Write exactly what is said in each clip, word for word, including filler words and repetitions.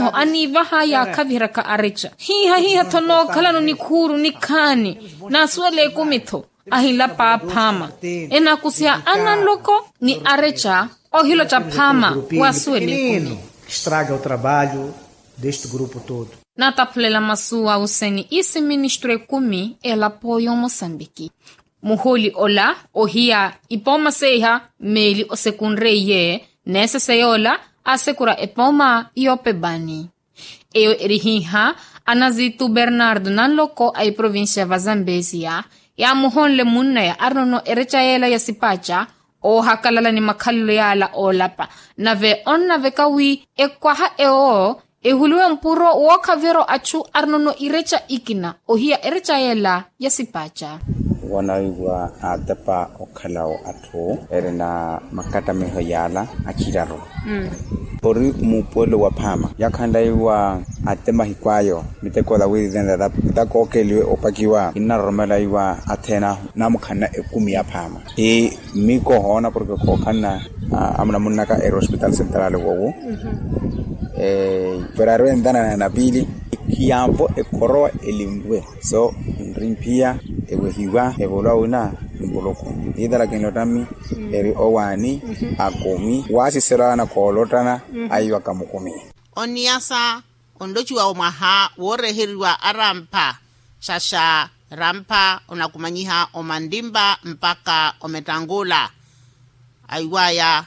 Aniivaha yaakhaviheryaka areca hiiha hiiha-tho nookhalano nikhuuru nikhaani. Naasuwela ekumi-tho ahinlapa aphaama enakusiha ananloko ni areca. Ohiloca phaama waasuwela ekumi. Estraga o trabalho deste grupo todo. Nataphulela masu awuseni isi ministru ekumi elapo y'omosambiki. Muhuli ola ohiya ipooma seiha meeli osekunre iye neesese yoola asekura epooma y'opebani. Eyo eri hiiha anazitu bernardo nanloko a iprovincia va zambezia yaamuhonle munnaya arinono ereca yeela ya sipaaca oohakalala ni makhalelo yaala oolapa. Nave onnaveka wi ekwaha ewo ehuliwe mpuro wookhaverya achu arinono ireca ikina ohiya ereca yeela ya sipaaca. Wanaiwa atepa okhalawo atthu erina makattamiho yaala aciraru ori muupuwelo wa phaama yaakhanlaiwa. Atte mahiku ayo miteko ola wiirirene ata kookheliwe opakiwa kinnaroromela iwa athena namukhanna ekumi ya phaama. Mmiiko ohoona porke khookhanna amunamunnaka eri hospital central wowo. Pero ari wentana na napili khiyanvo ekhorowa elinwe so nrimphiya ewehiwa evolwa wina. Mpuluku niitala kinlottami eri owaani akumi waasiselo ana khoolottana aiwaka mukumi. Oniyasa onlociwa omwaha wooreheriwa arampha xaxa rampha onakumanyiha omantimpa mpakha omettankula. Aiwaya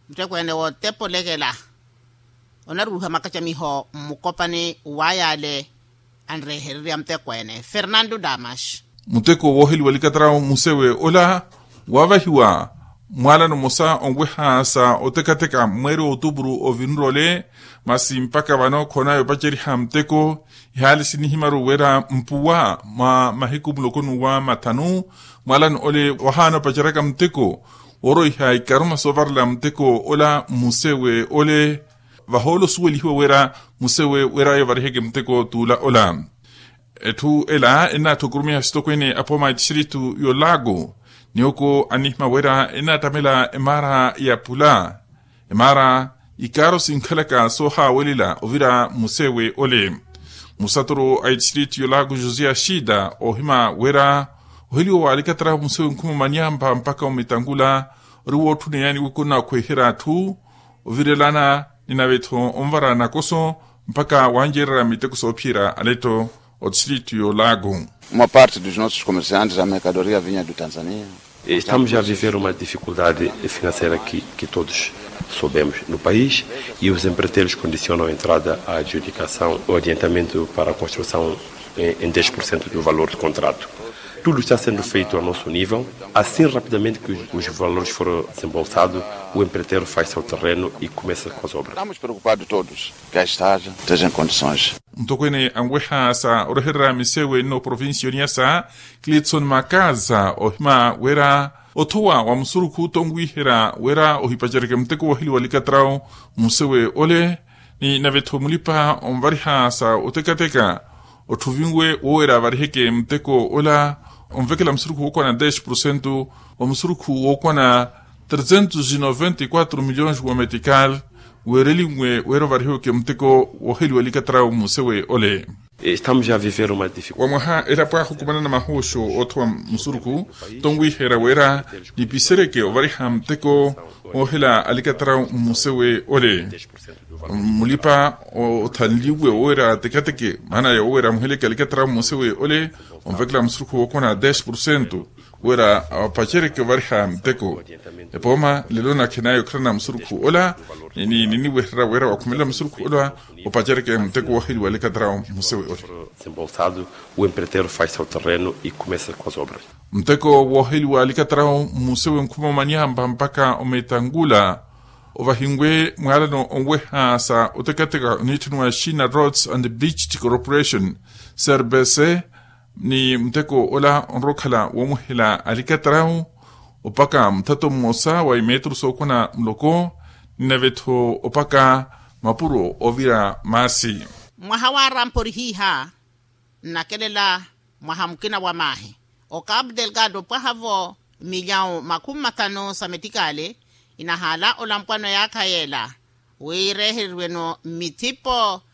muttekweene woottepolekela onaruuha makacamiho mmukopani wayale anrehererya muttekweene fernando damas. Mutteko wooheliwa likattarawo musewe ola waavahiwa mwaalano mmosa onweha sa ottekateka mweeri wa otupuru ovinrole. Masi mpakha vano khoonaya opaceriha mutteko ihaali sinihimaru wira mpuwa mwa mahiku muloko n'uwa mathanu mwaalano ole wahaana opaceraka mutteko wooroiha ikaruma soovarela mutteko ola mmusewe ole. Vahoolo osuwelihiwa wira mmusewe wira ayo variheke mutteko t'ula ola. Etthu ela ennaatthi okurumiha sitokweene apooma a etistiritu y'olaago. Niwoko anihima wira ennaattamela emaara ya pula emaara ikaaro sinkhalaka soohaawelela ovira musewe ole. Musaturu a etistiritu y'olaago josé ashida oohima wira oheliwa wa alikattara musewe nkhuma omanyampa mpakha omitangula ori wootthuneyani wikuna okhweherya atthu ovirelana ni nave-tho onvara nakoso mpakha wancererya miteko soophiyerya aletto. Otistiritu y'olaago. Uma parte dos nossos comerciantes a mercadoria vinha do tanzania. Estamos a viver uma dificuldade financeira que todos sabemos no país e os empreiteiros condicionam a entrada a adjudicação o adiantamento para a construção em dez por cento do valor do contrato. Tudo está sendo feito a nosso nível. Assim rapidamente que os valores foram desembolsados, o empreiteiro faz seu terreno e começa com as obras. Estamos preocupados todos. Ka estaja teja nkondições. Ntokweene anweha sa orehererya misewe nno provincia oniyasa, clitson makaza ohima wira othowa wa musurukhu tonwiherya wira ohipacereke muteko wooheliwa likattarawo mmusewe ole. Ni nave-tho mulipa onvariha sa otekateka otthuvinwe woowera avariheke muteko ola onvekela musurukhu wookwana dez porcento wa musurukhu wookwana trezentos e noventa e quatro milhões wa metikal. Weerelinwe wira ovarihiweke muteko wooheliwa likattarawo mmusewe ole. Estamos a viver uma dificuldade. Wa mwaha elapo ahukumanana mahuuxu oothowa musurukhu tonwiherya wira nipiseryeke ovariha muteko woohela alikattarawo mmusewe ole. Mulipa othanliwe wira atekateke maana ya wira amuheleke alikattarawo mmusewe ole onvekela musurukhu wookwana dez porcento wira apaceryeke ovariha muteko. Epooma lelo nakhinaya okhalana musurukhu ola ni niniwererya wira wakhumelela musurukhu ola opaceryeke muteko wooheliwa alikattarawo mmusewe ole. Desembolsado, o empreiteiro faz seu terreno e começa com as obras. Muteko wooheliwa alikattarawo mmusewe nkhuma omanyampa mpakha ometangula ovahinwe mwaalano onweha sa otekateka oniitthaniwa china roads and beach corporation, serbese. Ni muteko ola onrowa okhala woomuhela alikattarawo opaka muthato mmosa wa imetru sookwana muloko ni nave-tho opaka mapuro oovira maasi. Mwaha wa rampa ori hiiha nnakelela mwaha mukina wa maahi. Okapu delgado opwaha-vo milyawu makhumi mathanu sa metikali inahaala olampwano yaakha yeela wiirehereriwe-no mmithipo